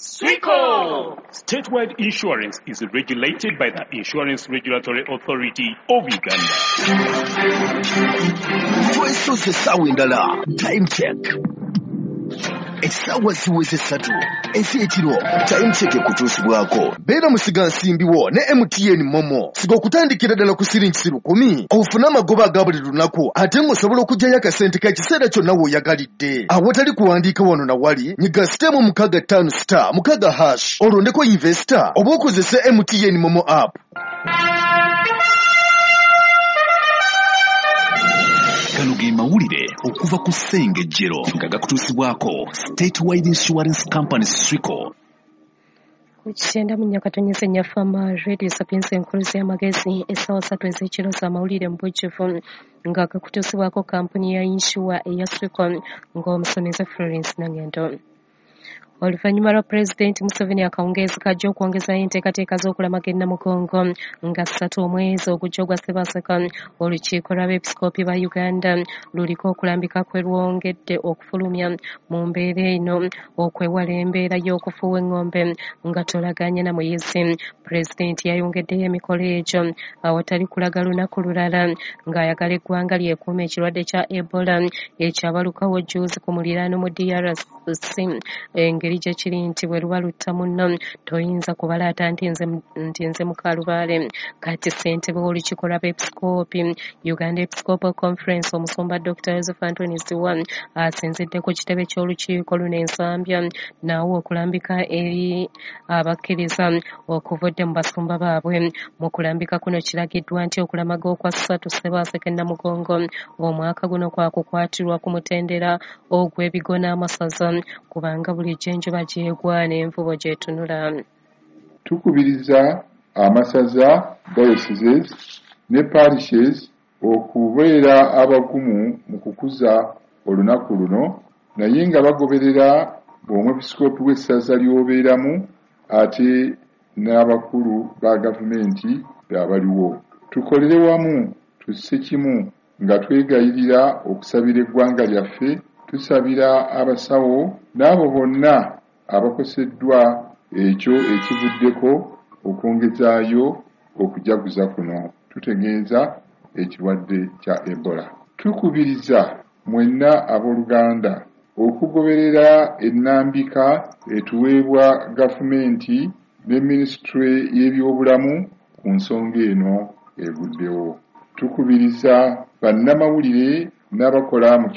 Swico! Statewide Insurance is regulated by the Insurance Regulatory Authority of Uganda. Twesoose essaawa endala. Time check. Essaawa ziweze 3 ez'ekiro. Time check ekutuusibwako. Beera musigansimbi wo ne MTN Momo. Siga okutandikira ddala ku siringi 1,000 ofune amagoba aga buli lunaku ate ng'osobola okuggyayo akasente k'ekiseera kyonna w'oyagalidde. Awatali kuwandiika wano na wali, nyiga *656*6# olondeko investor oba okozese MTN Momo app. Gano ge mawulire okuva ku Ssengejjero nga gakutuusibwako Statewide Insurance Company Swico. Ku 94.4 Fama Radio Sapienza enkuluzi y'amagezi, essaawa 3 ez'ekiro z'amawulire mu bujjuvu nga gakutuusibwako kampuni ya insure eya Swico ng'omusomesa Florence Nangendo. Oluvannyuma lwa Pulezidenti Museveni akawungeezi kajja okwongezayo enteekateeka z'okulamaga e Namugongo nga 3 omwezi ogujja ogwa Ssebaaseka, olukiiko lw'abeepisikoopi ba Uganda luliko okulambika kwe lwongedde okufulumya mu mbeera eno okwewala embeera y'okufuuwa eng'ombe nga tolaganye na muyizi. Pulezidenti yayongeddeyo emikolo egyo awatali kulaga lunaku lulala ng'ayagala eggwanga lyekuume ekirwadde kya Ebola ekyabalukawo jjuuzi ku muliraano mu DRC. Engeri gye kiri nti bwe luba lutta munno toyinza kubalaata nti nze mukalubaale. Kati ssentebe w'olukiiko lw'abeepisikoopi Uganda Episcopal Conference omusumba Dr. Joseph Anthony Zziwa asinzidde ku kitebe ky'olukiiko luno e Nsambya n'awa okulambika eri abakkiriza okuvudde mu basumba baabwe. Mu kulambika kuno kiragiddwa nti okulamaga okwa 3 Ssebaaseka e Namugongo omwaka guno kwakukwatirwa ku mutendera ogw'ebigo n'amasaza kubanga bulijjo enjuba gyegwa n'envubo gyetunula. Tukubiriza amasaza, dioceses ne parishes okubeera abagumu mu kukuza olunaku luno, naye nga bagoberera omwepisikoopi w'essaza ly'obeeramu ate n'abakulu ba gavumenti abaliwo. Tukolere wamu tusse kimu nga twegayirira okusabira eggwanga lyaffe, tusabira abasawo n'abo bonna abakoseddwa ekyo ekivuddeko okwongezaayo okujaguza kuno. Tutegeeza ekirwadde kya Ebola. Tukubiriza mwenna abooluganda okugoberera ennambika etuweebwa gavumenti ne minisitule y'ebyobulamu ku nsonga eno eguddewo. Tukubiriza bannamawulire n'abakola mu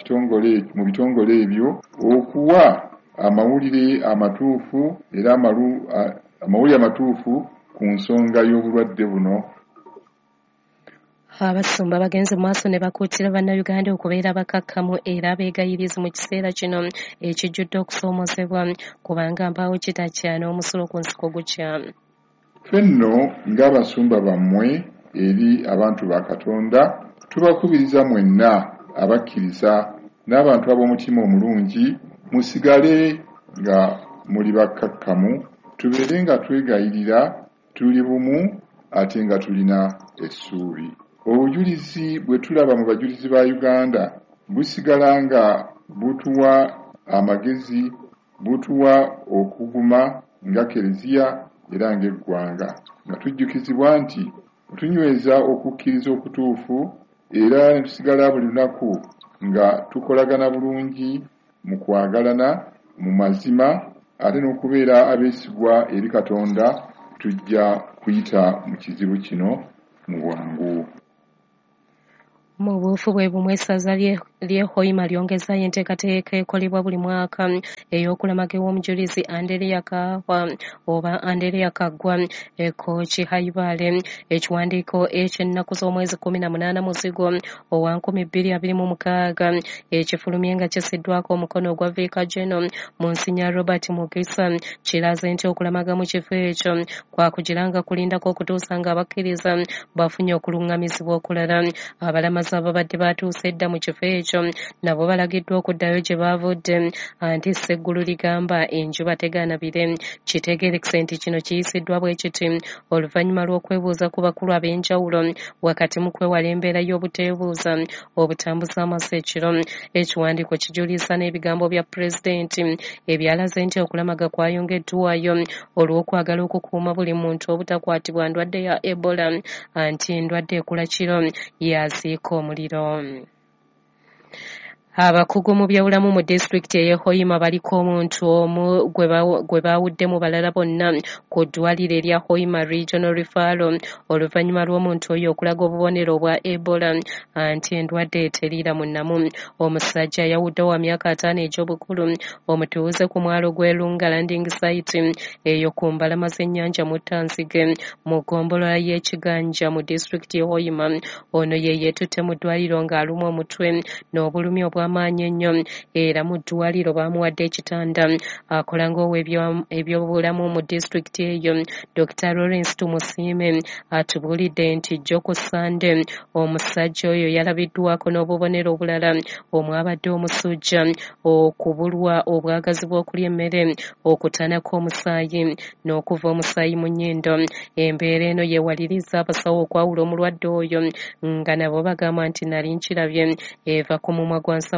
bitongole ebyo okuwa amawulire amatuufu era amawulire amatuufu ku nsonga y'obulwadde buno. Abasumba bagenze mu maaso ne bakuutira bannayuganda okubeera abakakkamu era abeegayirizi mu kiseera kino ekijjudde okusoomoozebwa kubanga mpaawo kitakya n'omusulo ku nsiko gukya. Ffe nno ng'abasumba bammwe eri abantu ba Katonda tubakubiriza mwenna abakkiriza n'abantu ab'omutima omulungi musigale nga muli bakkakkamu, tubeere nga twegayirira, tuli bumu ate nga tulina essuubi. Obujulizi bwe tulaba mu bajulizi ba Uganda busigala nga butuwa amagezi, butuwa okuguma nga Kereziya era ng'eggwanga, nga tujjukizibwa nti tunyweza okukkiriza okutuufu era ne tusigala buli lunaku nga tukolagana bulungi mu kwagalana mu mazima ate n'okubeera abeesigwa eri Katonda, tujja kuyita mu kizibu kino mu bwangu. Mu buufu bwe bumu essaza ly'e Hoima lyongezaayo enteekateeka ekolebwa buli mwaka ey'okulamaga ew'omujulizi Andereya Kaahwa oba Andereya Kaggwa e Kooki Haibale. Ekiwandiiko eky'ennaku z'omwezi 18 Muzigo owa 2026 ekifulumye nga kissiddwako omukono ogwa Viika General Monsignor Robert Mugisa kiraze nti okulamaga mu kifo ekyo kwakugira nga kulindako okutuusa nga abakkiriza bafunye okuluŋŋamizibwa okulala. Abalamazi Abalamazi ababadde batuuse edda mu kifo ekyo nabo balagiddwa okuddayo gye baavudde, anti Sseggulu ligamba enjuba tegaana bire. Kitegeerekese nti kino kiyisiddwa bwe kiti oluvannyuma lw'okwebuuza ku bakulu ab'enjawulo wakati mu kwewala embeera y'obuteebuuza obutambuza amaaso ekiro. Ekiwandiiko kijuliza n'ebigambo bya pulezidenti ebyalaze nti okulamaga kwayongeddwayo olw'okwagala okukuuma buli muntu obutakwatibwa ndwadde ya Ebola, anti endwadde ekula kiro yaziika omuliro. Abakugu mu byobulamu mu disitulikiti ey'e Hoima baliko omuntu omu gwe baawudde mu balala bonna ku ddwaliro erya Hoima Regional Referral oluvannyuma lw'omuntu oyo okulaga obubonero obwa Ebola, anti endwadde eteriira mu nnamu. Omusajja yawudde wa myaka 50 egy'obukulu, omutuuze ku mwalo gw'e Lunga Landing Site eyo ku mbalama z'ennyanja Muttanzige mu ggombolola y'e Kiganja mu disitulikiti y'e Hoima. Ono ye yeetutte mu ddwaliro ng'alumwa omutwe n'obulumi obw'amaanyi ennyo, era mu ddwaliro baamuwadde ekitanda. Akola ng'ow'ebyobulamu mu disitulikiti eyo, Dr. Lawrence Tumusiime atubuulidde nti jjo ku Ssande omusajja oyo yalabiddwako n'obubonero obulala omwabadde omusujja, okubulwa obwagazi bw'okulya emmere, okutanako omusaayi n'okuva omusaayi mu nnyindo. Embeera eno yeewaliriza abasawo okwawula omulwadde oyo nga nabo bagamba nti nali nkirabye eva ku mumwa gwa nsawo.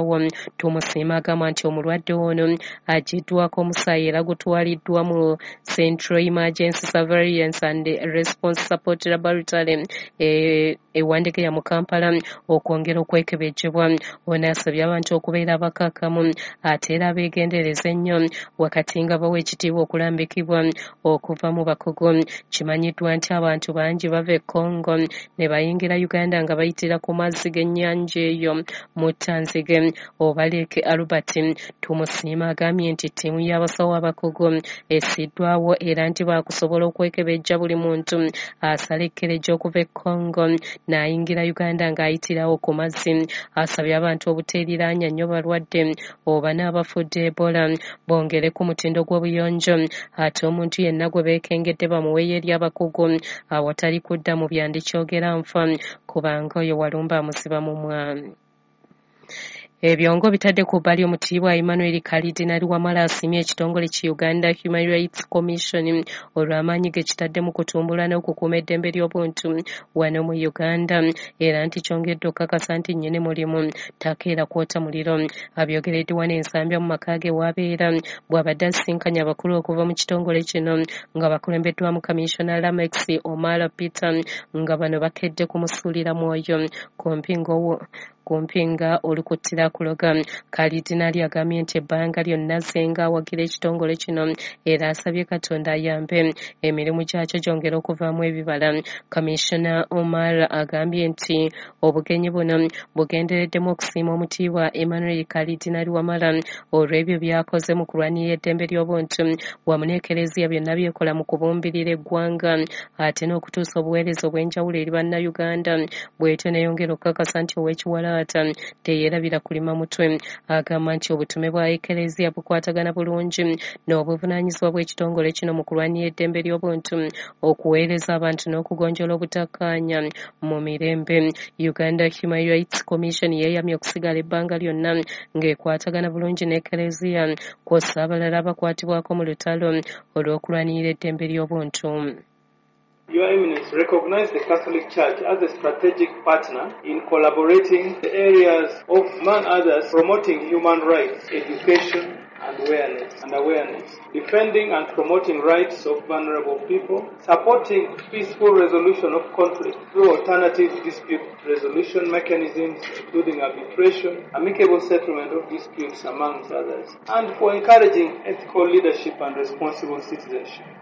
Tumusiime agamba nti omulwadde ono aggyiddwako omusaayi era gutwaliddwa mu Central Emergency Surveillance and Response Support Laboratory e Wandegeya mu Kampala okwongera okwekebejjebwa. Ono asabye abantu okubeera abakakkamu ate era abeegendereza ennyo wakati nga bawa ekitiibwa okulambikibwa okuva mu bakugu. Kimanyiddwa nti abantu bangi bava e Congo ne bayingira Uganda nga bayitira ku mazzi g'ennyanja eyo Muttanzige oba Lake Albert. Tumusiime agambye nti ttiimu y'abasawo abakugu essiddwawo era nti baakusobola okwekebejja buli muntu asala ekkerejja okuva e Congo n'ayingira Uganda ng'ayitirawo ku mazzi. Asabye abantu obuteeriraanya nnyo balwadde oba n'abafudde Ebola, bongere ku mutindo gw'obuyonjo, ate omuntu yenna gwe beekengedde bamuweeyo eri abakugu awatali kudda mu byandikyogera nfa, kubanga oyo walumba amusiba mumwa. Ebyongo bitadde ku bbali omutiibwa Emmanuel Kalidinali Wamala asiimye ekitongole ki Uganda Human Rights Commission olw'amaanyi ge kitadde mu kutumbula n'okukuuma eddembe ly'obuntu wano mu Uganda, era nti kyongedde okukakasa nti nnyini mulimu takeera kwota muliro. Abyogeredde wano e Nsambya mu maka ge w'abeera bw'abadde asisinkanye abakulu okuva mu kitongole kino nga bakulembeddwamu Commissioner Lamex Omar Peter, nga bano bakedde kumusuulira mwoyo ku mpinga olukuttira kuloga. Kalidinali agambye nti ebbanga lyonna Ssenga awagira ekitongole kino era asabye Katonda ayambe emirimu gyakyo gyongere okuvaamu ebibala. Commissioner Omar agambye nti obugenyi buno bugendereddemu okusiima omutiibwa Emmanuel Kalidinali Wamala olw'ebyo by'akoze mu kulwanirira eddembe ly'obuntu wamu n'Ekereziya byonna byekola mu kubumbirira eggwanga ate n'okutuusa obuweereza obw'enjawulo eri Bannayuganda, bw'etyo n'eyongera okukakasa nti ow'ekiwalaata teyeerabira kulima mutwe. Agamba nti obutume bwa Ekereziya bukwatagana bulungi n'obuvunaanyizibwa bw'ekitongole kino mu kulwanirira eddembe ly'obuntu, okuweereza abantu n'okugonjoola obutakkaanya mu mirembe. Uganda Human Rights Commission yeeyamye okusigala ebbanga lyonna ng'ekwatagana bulungi n'Ekereziya kw'ossa abalala abakwatibwako mu lutalo olw'okulwanirira eddembe ly'obuntu. Your Eminence, recognize the Catholic Church as a strategic partner in collaborating the areas of, among others, promoting human rights, education, and awareness, defending and promoting rights of vulnerable people, supporting peaceful resolution of conflict through alternative dispute resolution mechanisms, including arbitration, amicable settlement of disputes, amongst others, and for encouraging ethical leadership and responsible citizenship.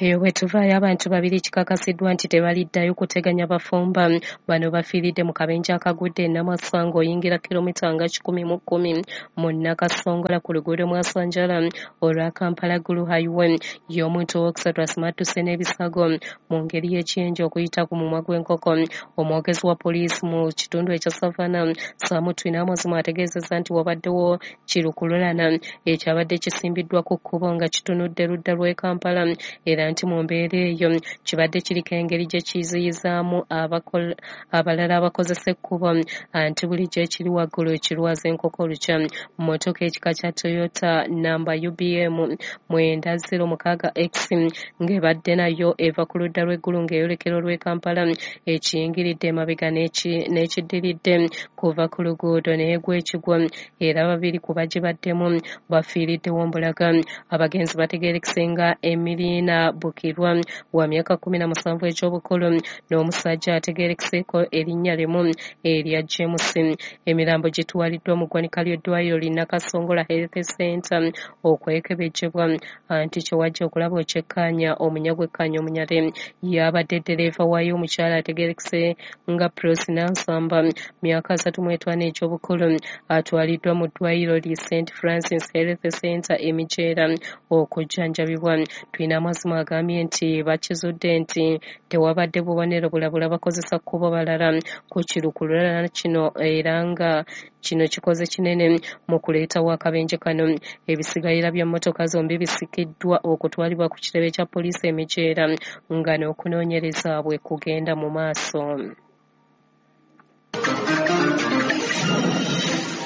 Eyo bwe tuvaayo abantu babiri kikakasiddwa nti tebaliddayo kuteganya bafumba. Bano bafiiridde mu kabenje akagudde e Namasa ng'oyingira kilomita nga 110 mu Nakasongola ku luguudo Mwasanjala olwa Kampala Gulu Highway. Ye omuntu owookusatu asimattuse n'ebisago mu ngeri y'ekyenje okuyita ku mumwa gw'enkoko. Omwogezi wa poliisi mu kitundu ekya Savannah, Sam Twinamazima, ategeezezza nti wabaddewo kirukululana ekyabadde kisimbiddwa ku kkubo nga kitunudde ludda lw'e Kampala, era Era nti mu mbeera eyo kibadde kiriko engeri gye kiziyizaamu abalala abakozesa ekkubo, anti bulijjo ekiri waggulu kirwaza enkoko olukya. Mmotoka ekika kya Toyota namba UBM 906X ng'ebadde nayo eva ku ludda lw'eggulu ng'eyolekera olw'e Kampala, ekiyingiridde emabega n'ekiddiridde kuva ku luguudo n'egwa ekigwo, era babiri ku bagibaddemu bafiiriddewo mbulaga. Abagenzi bategeerekese nga Emilina Bukirwa wa myaka 17 egy'obukulu n'omusajja ategeerekeseeko erinnya limu erya James. Emirambo gitwaliddwa mu ggwanika ly'eddwaliro li Nakasongola Health Center okwekebejjebwa, anti kyewajja okulaba okyekkaanya omunyagwa ekkaanya omunyale yabadde ddereeva waayo omukyala ategeerekese nga Prosi Nansamba myaka 35 egy'obukulu, atwaliddwa mu ddwaliro li St Francis Health Center e Mijeera okujjanjabibwa. Twineamazima agambye nti bakizudde nti tewabadde bubonero bulabula bakozesa kkubo balala ku kirukululana kino, era nga kino kikoze kinene mu kuleetawo akabenje kano. Ebisigalira bya mmotoka zombi bisikiddwa okutwalibwa ku kitebe kya poliisi e Mijeera nga n'okunoonyereza bwe kugenda mu maaso.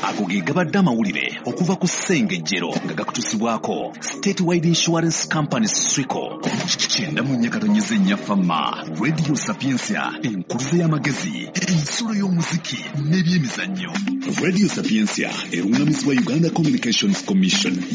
Ago ge gabadde amawulire okuva ku Ssengejjero nga gakutuusibwako Statewide Insurance Company Swico. 94.4 Fama Radio Sapientia, enkuluze y'amagezi, ensulo y'omuziki n'ebyemizannyo. Radio Sapientia erungamizibwa Uganda Communications Commission.